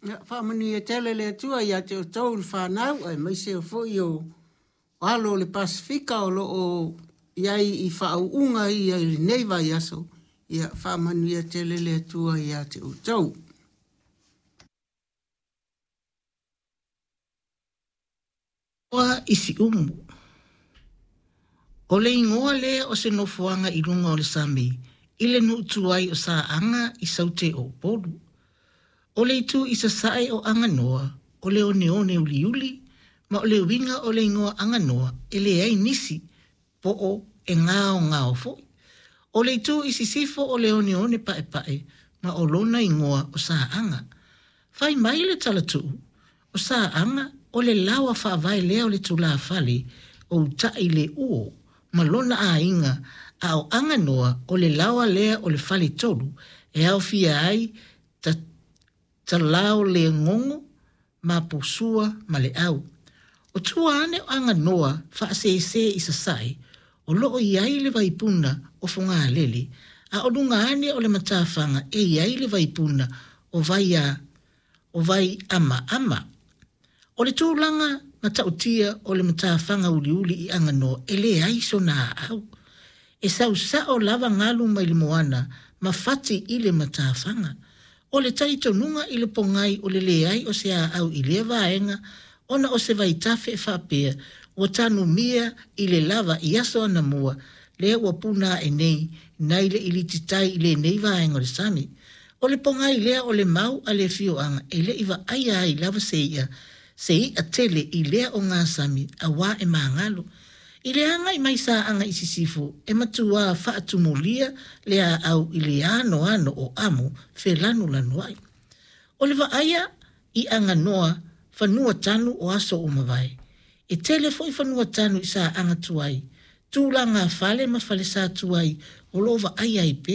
Ia, faamanuia tele le Atua ia te outou le fanau, aemaise foi o alo o le Pasefika o lo o i ai i faauuga ia i lenei vaiaso. Ia, faamanuia tele le Atua ia te outou. I Siumu. O le igoa lea o se nofoaga i luga o le sami i le nuu tuai o Saaga i Saute o Upolu. O le itu i sasae o Aganoa, o le oneone uliuli, ma o le uiga o le igoa Aganoa e leai nisi, po o e gaogao foi. O le itu i sisifo o le oneone paepae, ma o lona igoa o Saaga. Fai mai le talatuu, o Saaga o le laoa faavae lea o le tulafale o Utaileuo ma lona aiga, a o Aganoa o le laoa lea o le faletolu e aofia ai Talaolegogo ma Posua ma Leau. O tua ane o Aganoa faasese i sasae, o loo i ai le vaipuna o Fogalele, a o luga ane o le matafaga e i ai le vaipuna o Vaiamaama. O le tulaga matautia o le matafaga uliuli i Aganoa e leai sona aau. E sausao lava galu mai le moana ma fati i le matafaga. O le talitonuga i le pogai o le leai o se aau i lea vaega ona o se vaitafe e faapea ua tanumia i le lava i aso anamua lea ua puna ae nei nai le ilititai i lenei vaega o le sami. O le pogai lea o le mau a le afioaga e le i vaaia ai lava se i'a, se i'a tele i lea ogasami auā e magalo. I le agai mai Saaga i sisifo, e matuā faatumulia le aau i le anoano o amo felanulanuai. O le vaaia i Aganoa fanua tanu o aso ua mavae. E tele foi fanua tanu i Saaga tuai, tulaga fale ma falesa tuai o lo o vaaia ai pea.